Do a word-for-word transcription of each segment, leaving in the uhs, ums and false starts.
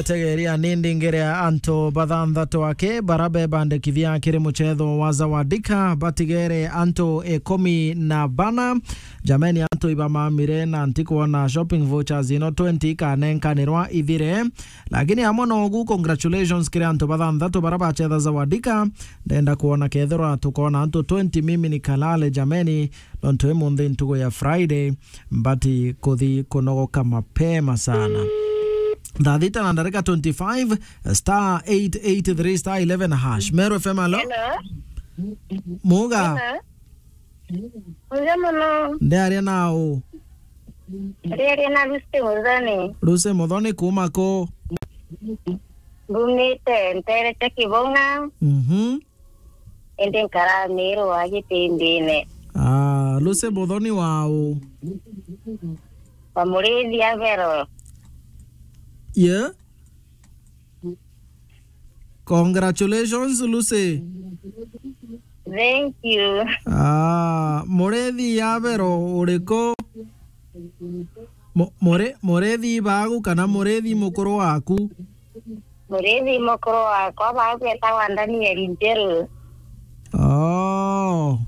Tegeria ni ndingere antu bathanthatu aki bara bebandikithia kiri muchetho wa Zawadika, batigere antu ikumi na bana. Jameni, antu ibamamire na ntikwona shopping vouchers ino twenty ikanenkanirwa ithire. Lakini amwe nogu, congratulations kiri antu bathanthatu bara bachetha Zawadika. Ndenda kwona kethirwa tukona antu twenty, mimi nikalale jameni, nontu imunthi ntugu ya Friday, mbati kuthi kunogoka mapema sana. Thaa thita na ndarika twenty-five, star eight eight three star eleven hash. Meru F M, alo? Hello. Muga? Hello. Muga muno. Ndiaria nau? Ndiaria na Lucy Muthoni. Lucy Muthoni kuma ku? Mbumite ntere cia Kibung'a. Mhm. Indi nkara Miru wa Gitimbine. Ah, Lucy Muthoni wau? Wa Murithi Abero. Yeah? Congratulations, Lucy. Thank you. Ah, Murithi Abero uriku? Mu-, muri-, Murithi bagu kana Murithi mukuru waku? Murithi mukuru wakwa bagwetagwa Daniel Njeru. Oh.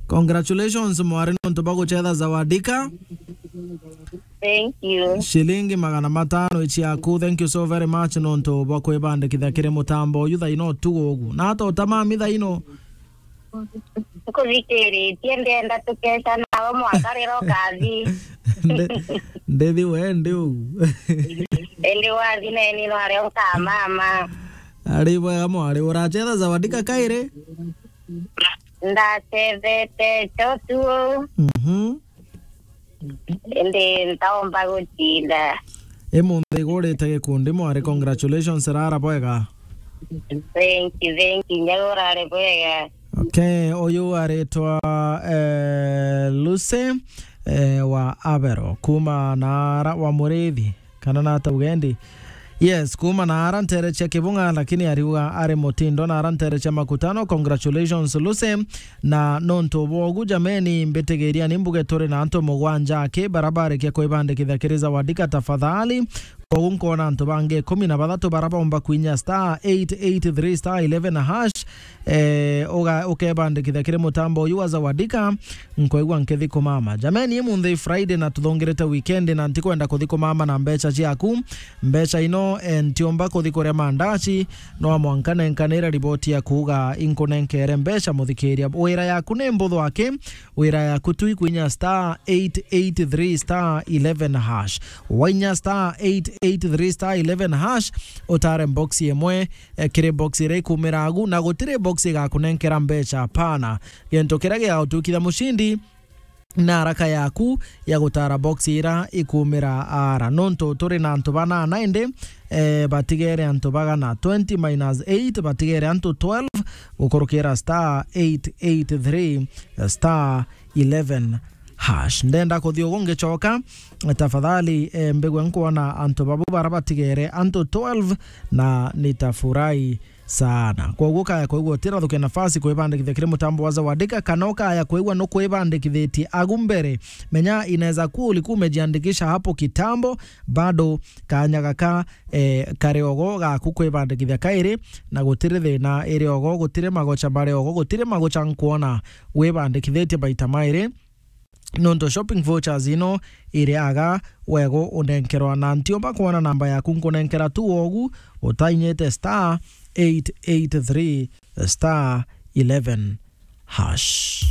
Congratulations, mwari, nontu bwa guchetha Zawadika. Thank you. Shilingi magana matano ici yaku. Thank you so very much nontu bwa kwibandikithia kiri mutambo uyu thaino tu ugu. Na ata utamami thaino? Nkuthikiritie, ndenda tukeca nawe mwaka rira ukathi. Ndi-, ndithi we ndi ugu. Indi wathi neni nwario nkamama. Ari bwega mwari, urachetha Zawadika kairi? Ndacethete cho tu. Mhm. Indi ntaomba gutinda. Imunthi igurite gikundi mwari, congratulations, rara bwega. Thank you, thank you. Nyaga urare bwega. Okay, uyu aritwa, eh, Lucy, eh, wa Abero, kuma na ara wa Murithi, kana na ata ugendi? Yes, kuma na ara ntere cia Kibung'a, lakini ariuga ari mutindo na ara ntere cia Makutano. Congratulations, Lucy. Na nontu bwogu, jameni, mbitigiria ni mbuge turi na antu mugwanja aki bara barikia kwibandikithia kiri Zawadika tafadhali. Kwogu nkwona antu bangi ikumi na bathatu bara baumba kwinya star eight eight three star eleven hash, eh, uga-, ukebandikithia kiri mutambo uyu wa Zawadika. Nkwigua nkithi kumama. Jameni, imunthi Friday na tuthungirite weekend na ntikwenda kuthi kumama na mbecha ciaku. Mbecha ino, eh, ntiumba kuthi kuria mandaci, no mwanka nenkanira riboti ya kuuga inkunenkere mbecha, muthikiria. Wira yaku ni mbuthu aki, wira yaku tu ikwinya star eight eight three star eleven hash. Wainya star eight eight three star eleven hash, utare box imwe, eh, kiri box iria ikumira agu, na gutiri box igakunenkera mbecha, hapana. Gintu kiria gigagutukithia mucindi na haraka yaku ya gutara box ira ikumira ara. Nontu turi na antu banana indi, eh, batigere antu bagana, twenty minus eight, batigere antu twelve, gukurukira star eight eight three star eleven hash. Ndenda kuthi ugu ngicoka, tafadhali, eh, mbigwe nkwona antu babu bara batigere, antu twelve, na nitafurahi sana. Kwoguo ukaya kwigua utirathukia nafasi kwibandikithia kiri mutambo wa Zawadika, kana ukaya kwigua nukwibandikithitie agu mbere, menya inaweza kuwa ulikuwa umejiandikisha hapo kitambo, bado kanya gaka, eh, kari ogo gaku kwibandikithia kairi, na gutiri thina iri ogo, gutiri magocha mari ogo, gutiri magocha nkwona wibandikithitie maita mairi. Nontu shopping vouchers ino iri aga wego unenkerwa, na ntiumba kwona namba yaku nkunenkera tu ogu utainyite star eight eight three star eleven hash.